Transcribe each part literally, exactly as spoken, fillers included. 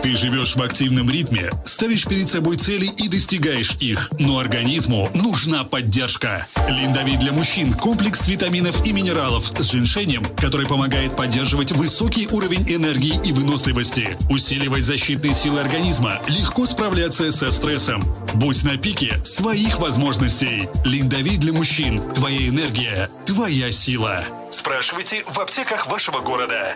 Ты живешь в активном ритме, ставишь перед собой цели и достигаешь их. Но организму нужна поддержка. Линдовит для мужчин – комплекс витаминов и минералов с женьшенем, который помогает поддерживать высокий уровень энергии и выносливости, усиливать защитные силы организма, легко справляться со стрессом. Будь на пике своих возможностей. Линдовит для мужчин – твоя энергия, твоя сила. Спрашивайте в аптеках вашего города.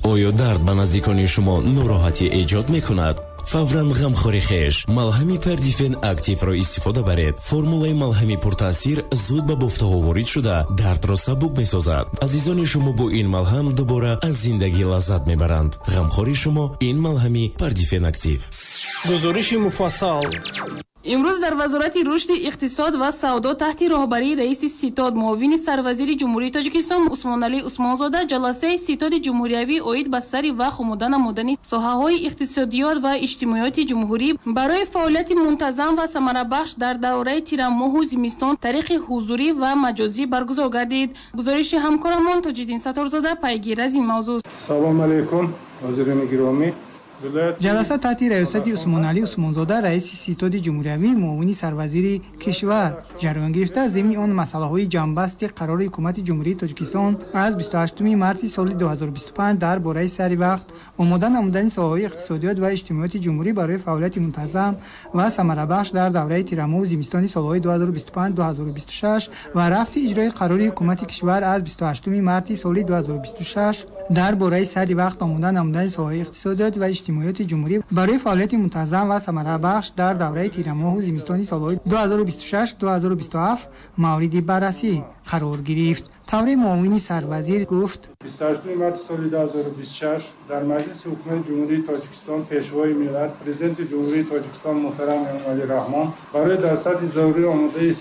Оё дард ба наздикони шумо нороҳатӣ эҷод мекунад? Фавран ғамхори хеш малҳами Пердифен Активро истифода баред. Формулаи малҳами пуртаъсир зуд ба бофтаҳо ворид шуда, дардро сабук месозад. Азизони шумо бо ин малҳам дубора аз зиндагӣ лаззат мебаранд. Ғамхори шумо ин малҳами Пердифен Актив. Гузориши муфассал. Имрӯз дар Вазорати рушди иқтисод ва савдо таҳти роҳбарии раиси ситод, муовини сарвазири Ҷумҳурии Тоҷикистон Усмоналӣ Усмонзода ҷаласаи ситоди ҷумҳуриявӣ оид ба сари вақт омода намудани соҳаҳои иқтисодиёт ва иҷтимоиёти ҷумҳурӣ барои фаъолияти мунтазам ва самарабахш дар давраи тирамоҳу зимистон тариқи ҳузурӣ ва маҷозӣ баргузор гардид. Гузориши ҳамкорамон Тоҷиддин Сатторзода пайгир аз ин мавзӯъ. Салом алейкум, ҳозирини гиромӣ. Ҷаласа таҳти раёсати Усмоналӣ Усмонзода, раиси ситоди ҷумҳуриявӣ, муовини сарвазири кишвар ҷараён гирифта, зимни он масъалаҳои ҷамъбасти қарори ҳукумати Ҷумҳурии Тоҷикистон аз бисту ҳаштуми марти соли ду ҳазору бисту панҷ дар бораи сари вақт омода намудани соҳаҳои иқтисодиёт ва иҷтимоиёти ҷумҳурӣ барои фаъолияти мунтазам ва самарабахш дар давраи тирамоҳу зимистони солҳои ду ҳазору бисту панҷ ду ҳазору бисту шаш ва рафти иҷрои қарори ҳукумати кишвар аз бисту ҳаштуми марти соли ду ҳазору бисту шаш дар бораи сари вақт омода намудани соҳаҳои иқтисодиёт ва иҷтимоиёти ҷумҳурӣ барои фаъолияти мунтазам ва самарабахш дар давраи тирамоҳу зимистони солҳои ду ҳазору бисту шаш ду ҳазору бисту ҳафт мавриди баррасӣ қарор гирифт. Тавре муовини сарвазир гуфт: бисту ҳаштуми марти соли ду ҳазору бисту шаш дар Маҷлиси ҳукумати Ҷумҳурии Тоҷикистон Пешвои миллат, Президенти Ҷумҳурии Тоҷикистон муҳтарам Эмомалӣ Раҳмон барои дар сатҳи зарурӣ омодаи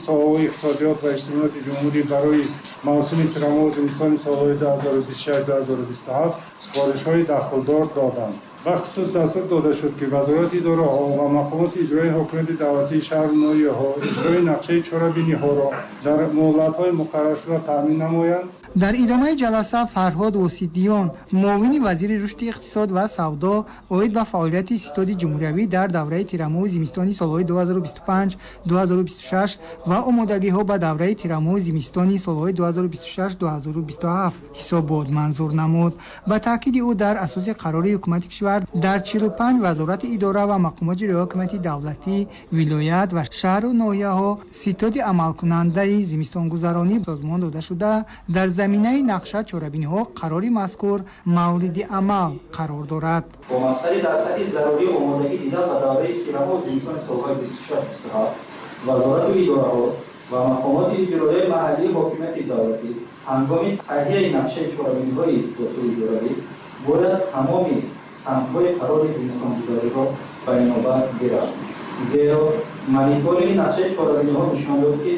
соҳаҳои иқтисодиёт ва иҷтимоиёти ҷумҳурӣ барои мавсими тирамоҳу зимистони солҳои ду ҳазору бисту шаш ду ҳазору бисту ҳафт супоришҳои дахлдор доданд. Бахусус дастур дода шуд, ки вазорати идораҳо ва мақомоти иҷроии ҳокимияти давлатии шаҳру ноҳияҳо иҷрои нақшаи чорабиниҳоро дар муҳлатҳои муқарраршуда таъмин намоянд. Дар идомаи ҷаласа Фарҳод Воситиён, муовини вазири рушди иқтисод ва савдо оид ба фаъолияти ситоди ҷумҳуриявӣ дар давраи тирамоҳу зимистони солҳои ду ҳазору бисту панҷ ду ҳазору бисту шаш ва омодагиҳо ба давраи тирамоҳу зимистони солҳои ду ҳазору бисту шаш ду ҳазору бисту ҳафт ҳисобот манзур намуд. Ба таъкиди ӯ дар асоси қарори ҳукумати кишвар дар чилу панҷ вазорати идора ва мақомоти иҷроии ҳокимияти давлатӣ, вилоят ва шаҳру ноҳияҳо ситоди амалкунандаи зимистонгузаронӣ созмон дода шуда, дар заминаи нақша чорабиниҳо қарори мазкур мавриди амал қарор дорад. Бо мақсади дар сатҳи зарурӣ омодагӣ дидан ба давраи тирамоҳу зимистони солҳои бисту шаш бисту ҳафт вазорату идораҳо ва мақомоти иҷроияи маҳаллии ҳокимияти давлатӣ ҳангоми таҳияи нақшаи чорабиниҳои дохилиидоравӣ бояд тамоми самтҳои қарори зимистонгузариро ба инобат гиранд. Зеро мониторинги нақшаи чорабиниҳо нишон дод, ки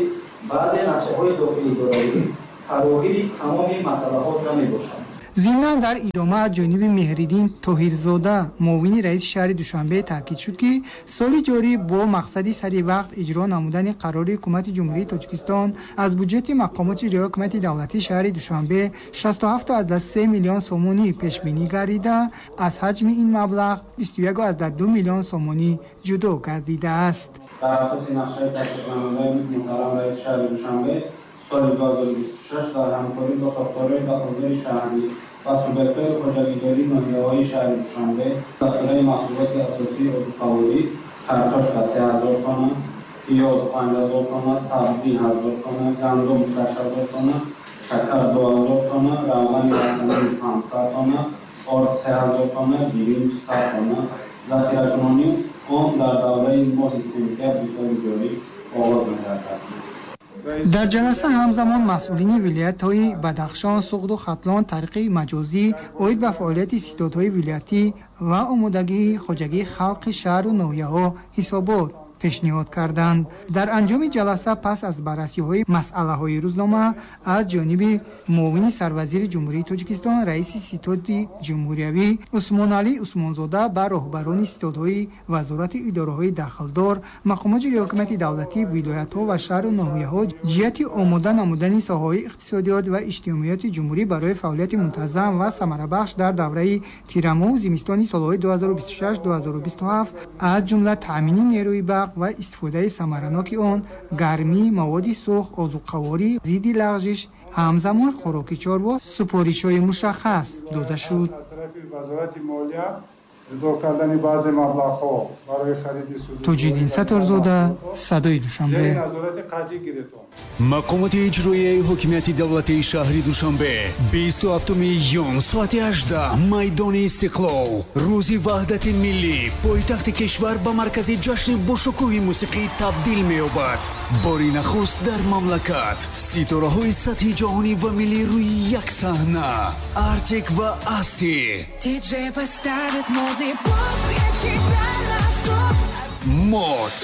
баъзе нақшаҳои дохилиидоравӣ фарогири тамоми масъалаҳо намебошанд. Зимнан дар идома аз ҷониби Меҳриддин Тоҳирзода, муовини раиси шаҳри Душанбе таъкид шуд, ки соли ҷорӣ бо мақсади сари вақт иҷро намудани қарори ҳукумати Ҷумҳурии Тоҷикистон аз буҷети мақомоти иҷроии ҳокимияти давлатии шаҳри Душанбе шасту ҳафт аз се миллион сомонӣ пешбинӣ гардида, аз ҳаҷми ин маблағ бисту як аз ду миллион сомонӣ ҷудо гардидааст. Дар асоси нақшаи тасдиқнамудаи муҳтарам раиси шаҳри Душанбе соли ду ҳазору бисту шаш дар ҳамкорӣ бо сохторҳои дахлдори шаҳрӣ ва субъектҳои хоҷагидории ноҳияҳои шаҳри Душанбе захираи маҳсулоти асосии озуқаворӣ картошка се ҳазор тонна, пиёз панҷ ҳазор тонна, сабзӣ ҳазор тонна, гандум шаш ҳазор тонна, шакар ду ҳазор тонна, равғани расанӣ панҷсад тонна, орд се ҳазор тонна, биринҷ сад тонна захиракунонӣ он дар давраи моҳи сентябри соли ҷорӣ оғоз мегардад. Дар ҷаласа ҳамзамон масъулини вилоятҳои Бадахшон, Суғду Хатлон тариқи маҷозӣ оид ба фаъолияти ситодҳои вилоятӣ ва омодагии хоҷагии халқи шаҳру ноҳияҳо ҳисобот пешниҳод карданд. Дар анҷоми ҷаласа пас аз баррасиҳои масъалаҳои рӯзнома аз ҷониби муовини сарвазири Ҷумҳурии Тоҷикистон, раиси ситоди ҷумҳуриявӣ Усмоналӣ Усмонзода ба роҳбарони ситодҳои вазорату идораҳои дахлдор, мақомоти ҳокимияти давлатӣ, вилоятҳо ва шаҳру ноҳияҳо ҷиҳати омода намудани соҳаҳои иқтисодиёт ва иҷтимоиёти ҷумҳурӣ барои фаъолияти мунтазам ва самарабахш дар давраи тирамоҳу зимистони солҳои ду ҳазору бисту шаш ду ҳазору бисту ҳафт, аз ҷумла таъмини нерӯи барқ ва истифодаи самараноки он, гармӣ, маводи сӯхт, озуқаворӣ, зидди лағжиш, ҳамзамон хӯроки чорво супоришҳои мушаххас дода шуд. Ҷудо кардани баъзе маблағҳо барои хариди сӯзишворӣ. Тоҷиддин Сатторзода, Садои Душанбе. Мақомоти иҷроияи ҳокимияти давлатии шаҳри Душанбе бисту ҳафтуми июн соати ҳаждаҳ, майдони Истиқлол, рӯзи ваҳдати миллӣ, пойтахти кишвар ба маркази ҷашни бошукӯҳи мусиқӣ табдил меёбад. Бори нахуст дар мамлакат ситораҳои сатҳи ҷаҳонӣ ва миллӣ рӯи як саҳна: Артик ва Асти, Мод,